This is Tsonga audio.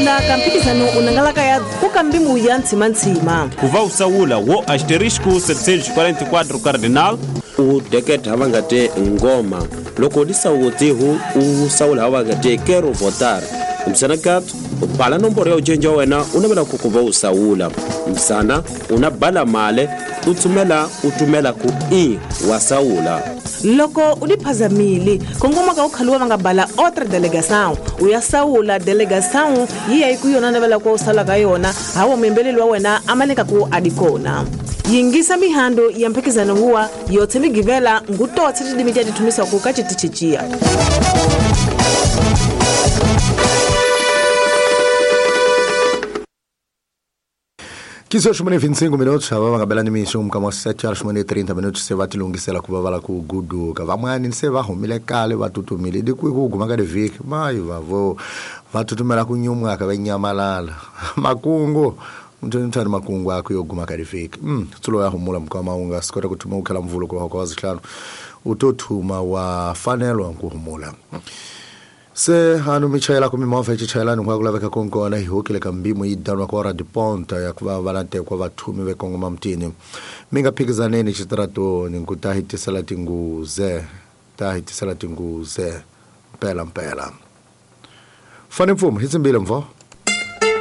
Sungula ka mphikizano u nangalaka ya ku ka mbimu ya ntshimantshima. Ku va u sawula wo asterisco 744 cardinal. U deketa ha va nga te ngoma. Loko di sawutihu u sawula ha va nga te quero votar. Msana kat u bala nomboro ya ujenja wa wena u navela ku ku va u sawula. Msana u na bala male u tsumela u tumela ku i wa sawula. Loko u diphazamile kongoma ka u khaluwa va nga bala otra delegação u ya sawula delegação yi ya yi ku yona navela ku u sawula ka yona hawa muyimbeleri wa wena a maleka ku a di kona. Yingisa mihando ya mphikizano huwa yotse migivela ngutotse tidimi tia tithumisaku ka citichiciya. 15 horas e 25 minutos, ava va nga bela nimixo mukama wa 7 horas e 30 minutos se va tilunghisela ku va va la ku guduka. Van'wani se va humile kale va tutumile di kwihi ku guma ka tivhiki mayi vavo va tutumela ku nyumwaka va nyamalala makungu mthani makungu akho yo guma ka tivhiki. Tsulo ya humula mukama u nga swi kota ku thuma u khela mvulo ku wa zihlanu u to thuma wa fanelwa ku humula. Se hanu mi chayela ku mimovha yi chayelani ku laveka konkona hi hokile ka mbimo yi danwa kwa ra diponta ya ku va va lantekwa vathumi ve kongoma mutini. Mi nga phikizaneni xitaratoni ku ta hi tisela tinguze, ta hi tisela tinguze mpela mpela. Fani mfumo hi tsimbile mvo.